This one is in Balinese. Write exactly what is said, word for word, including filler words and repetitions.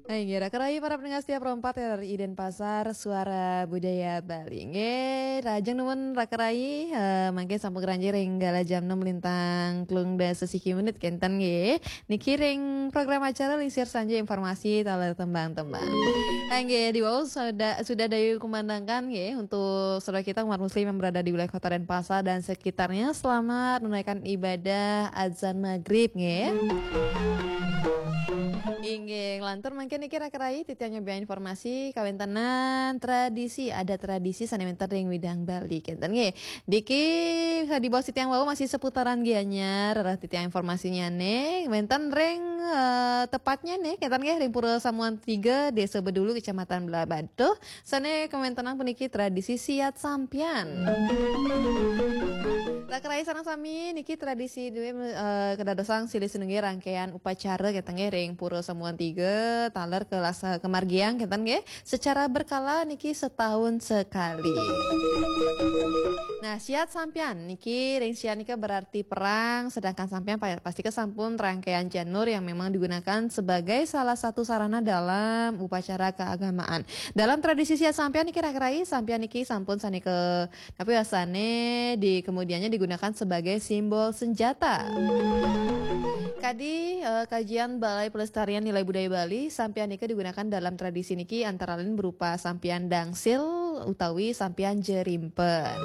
Hai, nggih, raka rayi para pendengar setia Pro empat R R I Denpasar, Suara Budaya Bali. Nggih, rahajeng nuwun raka rayi, eh, mangke sampun ngranjing ring galah jam enam lintang telung dasa siki menit kenten nggih. Niki ring program acara Lisir Sanja Informasi taler tembang-tembang. Hai, nggih, diwau sudah, sudah dayu kumandangkan nggih untuk saudara kita umat muslim yang berada di wilayah Kota Denpasar dan sekitarnya, selamat menunaikan ibadah azan maghrib nggih. Inggih, lantur mangke niki raka rayi titiang nyobiahang informasi kawéntenan tradisi, ada tradisi sané wénten ring Widang Bali kenten nggih. Niki di bawah titiang wau masih seputaran Gianyar, rerah titiang informasinya nih, wénten ring, eh, tepatnya nih, kenten nggih ring Pura Samuan tiga, Desa Bedulu, Kecamatan Blahbatuh, sané kawéntenan puniki tradisi siat sampian. Raka rayi sareng sami niki tradisi duwé, eh, kedadosan silih sinunggil rangkaian upacara kenten nggih ring Pura Samuan tiga taler kelasa kemargiang kenten nggih secara berkala niki setahun sekali. Nah, siat sampian niki ring siat nika berarti perang, sedangkan sampian pa-, pasti kesampun rangkaian janur yang memang digunakan sebagai salah satu sarana dalam upacara keagamaan. Dalam tradisi siat sampian niki raka rayi, sampian niki sampun sané ke, tapi biasanya di kemudiannya digunakan sebagai simbol senjata. Kadi, eh, kajian Balai Pelestarian Nilai Budaya Bali, sampian nika digunakan dalam tradisi niki antara lain berupa sampian dangsil utawi sampian jerimpen.